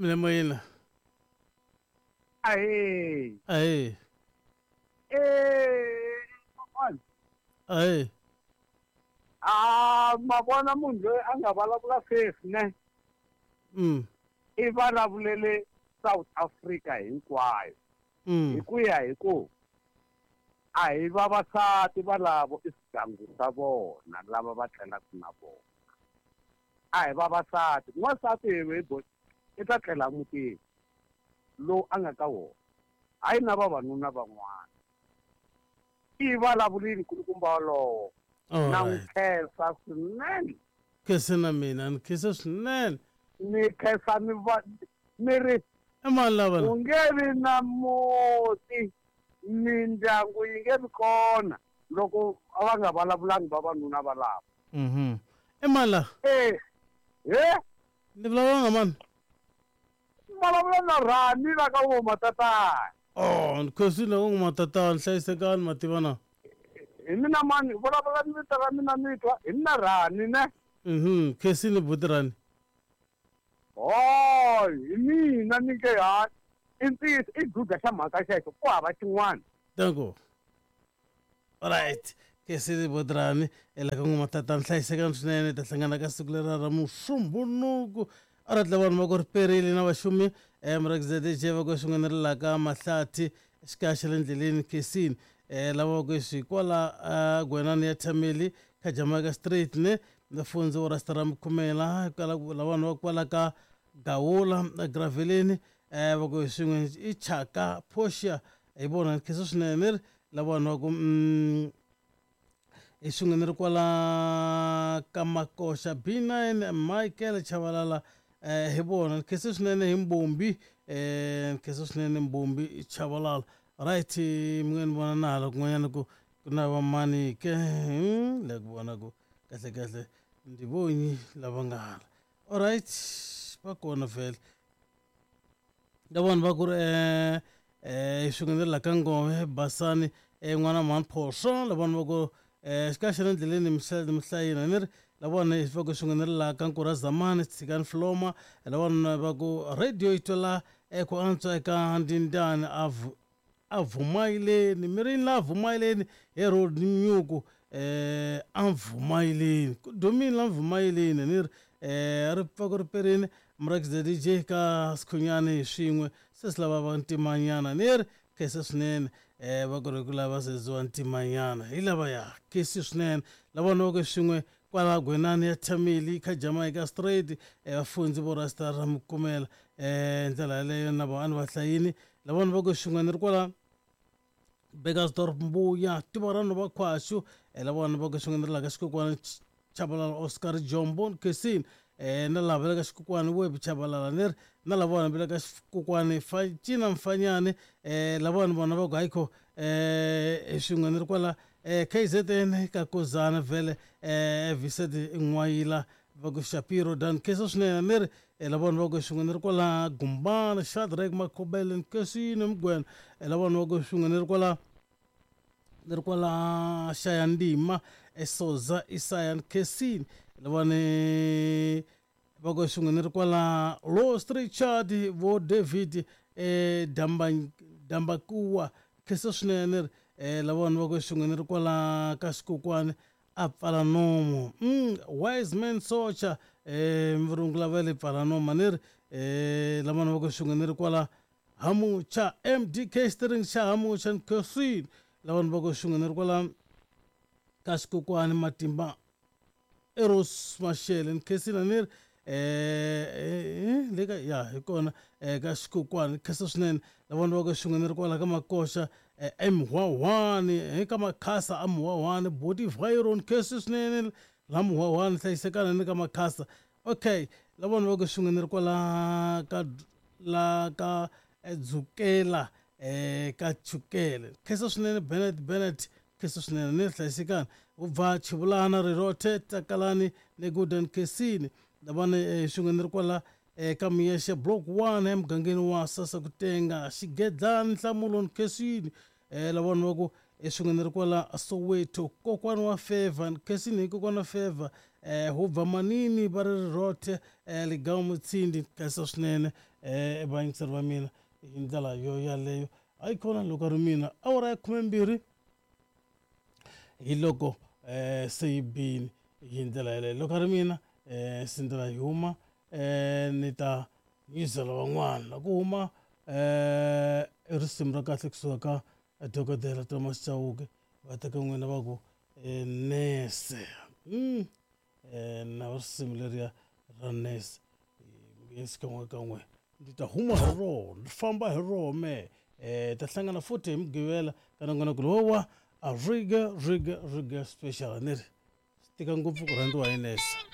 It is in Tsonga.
Mina moyeni. Ahee. Ahee. Eh, kokwana. Ahee. Ah, ma vona munhu loyi a nga vulavula sweswi ne? I vulavulele South Africa hinkwayo. Hi ku ya hi ku a hi vavasati valavo i swigangu swa vona lava va tlelaka na vona. A hi vavasati. N'wansati hi hi i ta tlela mutini lowu a nga ka wona hayi na vavanuna van'wana. I vulavulile nkulukumba walowo. Na n'wi khensa swinene. Khense na mina ni khensa swinene. Ni khensa ni va ni ri I mani lava ku nge vi na muti mindyangu yi nge vi kona loko va nga vulavulangi vavanuna valavo. I mani la? Eh he Ni vulavula na mani? Vulavula na Rani la ka vo Matatana. Oh, ni khensile u Matatana, hlayisekani mativa na. Hi mina mani, vulavula ni vito ra mina ni twa, hi mina Rani ne. Khensile buti Rani. Hoy, hi mina ni nge ha i ntiyiso i duda xa mhaka xexo ku hava xin'wana. Danko. Alright. Khensile buti Rani, ela ka n'we Matatana, hlayisekani swinene, ta hlangana ka siku lera ra Musumbhunuku. Alright, la vanhu va ku ri perile na vaxumi mrakzedj va ku swin'we ni ri la ka Mahlathi xikaya xa le ndleleni Khensini. Lava va ku swi kwala Gwenani ya Thameli ka Jamaica Street ne Mfundzi wa Rasta ra Mukhumela kwala la vanhu va kwala ka Gawula Graveleni va ku swin'we i Chaka Portia hi vona ni khensa swinene ni ri la vanhu va ku hi swin'we ni ri kwala ka Makoxa B9 Michael Chavalala hi vona ni khensa swinene hi Mbombi ni khensa swinene Mbombi Chavalala. Right, mi nga ni vona na hala kun'wanyana ku ku na vamani ke la ku vona ku kahle kahle ndi vonyi lava nga hala. Alright, va kona vhele la vanhu va ku ri swin'we ni la ka Ngove Basani n'wana mhani Phoso la vanhu va ku xikaya xa le ndleleni mihlayina ni ri la vona va ku swin'we ni ri la ka Nkura Zamani Tshikani Floma la vanhu va ku radio yi twela ku antswa eka Ndindani a a vumayileni mirini la vumayileni hi road nyuku a vumayileni ku dumile la vumayileni ni ri ri pfa ku ri perini Mrax the DJ ka Sikhunyani hi swin'we se swi lava va ntimanyana ni ri khensa swinene va ku ri ku lava seziwa ntimanyana hi lava ya khensi swinene lava vona va ku swin'we kwala Gwenani ya Thameli kha Jamaica Street vafundzi vo Rasta ra Mukumela ndlela yaleyo na vona a ni va hlayini lava vona va ku swin'we ni ri kwala Burgersdorp Mbuya tiva ra nhova khwaxu lava vona va ku swin'we ni ri la ka xikokwana Chabalala Oscar Jombo Khensini na lava va le ka xikokwani Web Chabalala ni ri na lava vona va le ka xikokwani Cina Mfanyani lavawani vona va ku hayikho swin'we ni ri kwala KZN ka Kozana vhele Vincent N'wayila va ku Shapiro Dan khensa swinene ni ri lavawani va ku swin'we ni ri kwala Gumbana Shadrack Makhobele Nkesini Mugwena lavawani va ku swin'we ni ri kwala ni ri kwala Xayandima Esoza Isaya Nkesini lavawani va ku swin'we ni ri kwala Lost Richard vo David Damba Dambakuwa khensa swinene ni ri lavawani va ku swin'we ni ri kwala ka xikokwani a pfala nomo wise man socha murungu lava le pfala nomo ni ri lavawani va ku swin'we ni ri kwala Hamucha MDK Steering xa Hamucha Nkhosini lavawani va ku swin'we ni ri kwala ka xikokwani Matimba Eros Mashele Nkhensile ni ri le ka ya hi kona ka xikokwani khensa swinene lavawani va ku swin'we ni ri kwala ka Makoxa eMhwahwani ka Makhasa a Mhwahwani Boti Byron khensa swinene la Mhwahwani hlayisekana ni ka Makhasa okay lavawani va ku swin'we ni ri kwala ka la ka Dzukela ka Chukele khensa swinene Bennett Bennett khensa swinene ni hlayisekani ubva Chivulana Rirothe Takalani ni Golden Khensini lavani swin'we ni ri kwala ka Miyexe Block 1 emugangeni wa Sasa Kutenga Xigedlani Nhlamulo Nkhensini lavani va ku swin'we ni ri kwala Soweto kokwani wa Favor Nkhensini hi kokwani wa Favor Hubva manini va ri rothe ligamu mutsindi khensa swinene vayingiseri va mina hi ndlela yo yaleyo. Hayi khona loko ri mina awara ya 12 hi loko se yi bini hi ndlela yaleyo. Loko ri mina se ndlela yi huma ni ta nyizela van'wana ku huma risimu ra kahle kusuka ka dokodela Thomas Chauke va teka n'wina va ku nese na risimu leriya ra nese xikan'we kan'we ndzi ta huma hi rona ndzi famba hi rona me ta hlangana futhi hi mugqivela ka nongonoko lowa a riga riga riga special ni ri swi tika ngopfu ku rhandziwa hi nese.